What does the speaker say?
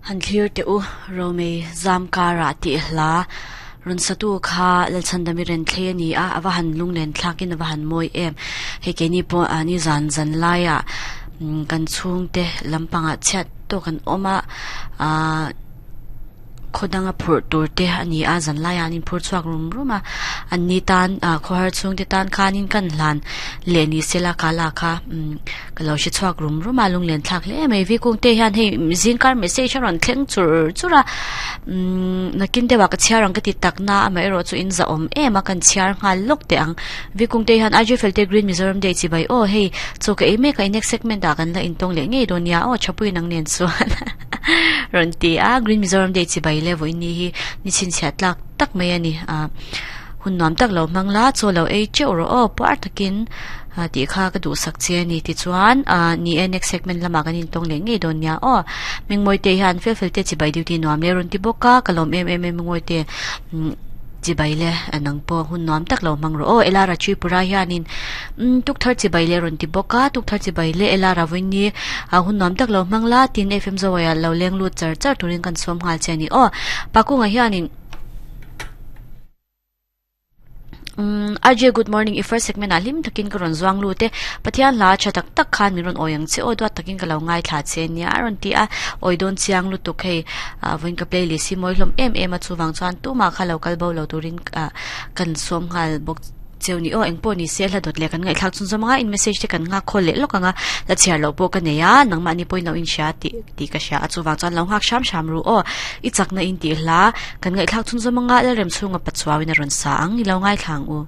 Han thlir teh u, Romei zam karah tih hla rawn satu kha Lalchhandami Renthlei a ni a, a va han lunglen thlakin a va han mawi em. Hei keini pawh a ni zan zan laiah kan chhungte lampangah chhiat tawk an awm a, aaa khaw danga phurh tur te a ni a, zan laiah an inphur chhuak rum rum a, an ni tan ah khawhar chhungte tan khanin kan hlan leh ni se la ka la kha umm ka lo hre chhuak rum rum a lunglen thlak hle mai vikung te hian hei zingkar message a rawn thleng chur chur a umm nakin deuhah ka chhiar ang ka ti tak na amaherawh chu in zahawm em a kan chhiar nghal lawk teh ang vikung te hian Aijefel te Green Mizoram Day chibai aw hei chaw ka ei mek a next segment ah kan la intawng leh ngei dawn nia aw thapui nang nen chuan. Rawn ti a, Green Mizoram Day chibai le vawiin ni hi ni chhinchhiah tlak tak mai a ni. Ah hun nuam tak lo hmang la, chaw lo ei teuh rawh aw puar takin ah tih kha ka duhsak che a ni. Tichuan ah ni e next segment lamah kan intawng leh ngei dawn nia aw. Mengmawi te hian fel fel te chibai duty nuam le rawn ti bawk a, ka lawm em em e Mengmawi te. Chibai le nang pawh hun nuam tak lo hmang rawh aw. Elara Tripura hianin umm tukthar chibai le rawn ti bawk a, tukthar chibai le Elara vawiin a hun nuam tak lo hmang la tin FM Zawaiah lo leng lut char char turin kan sawm nghal che a ni aw. Pakunga hianin umm RJ good morning i first segment ah hlim takin ka rawn zuang lut e. Pathian hla tha tak tak khan min rawn awi ang che aw duat takin ka lo ngaithla che nia a rawn ti a, awi dawn chiang lutuk hei. Ah vawiin ka playlist hi mawi hlawm em em a chuvang chuan tumah kha lo kal bo lo turin ah kan sawm nghal bawk cheu ni aw engpawh ni se hla dawt leh kan ngaihthlak chhun zawm anga in message te kan nghak khawl leh lawk anga la chhiar loh pawh ka nei a nangmahni pawhin lo inhria tih tih ka hria a chuvang chuan lo nghak hram hram ru aw i chakna in tih hla kan ngaihthlak chhun zawm anga Lalremchhunga Pachuauin a rawn sa ang i lo ngaithla ang u.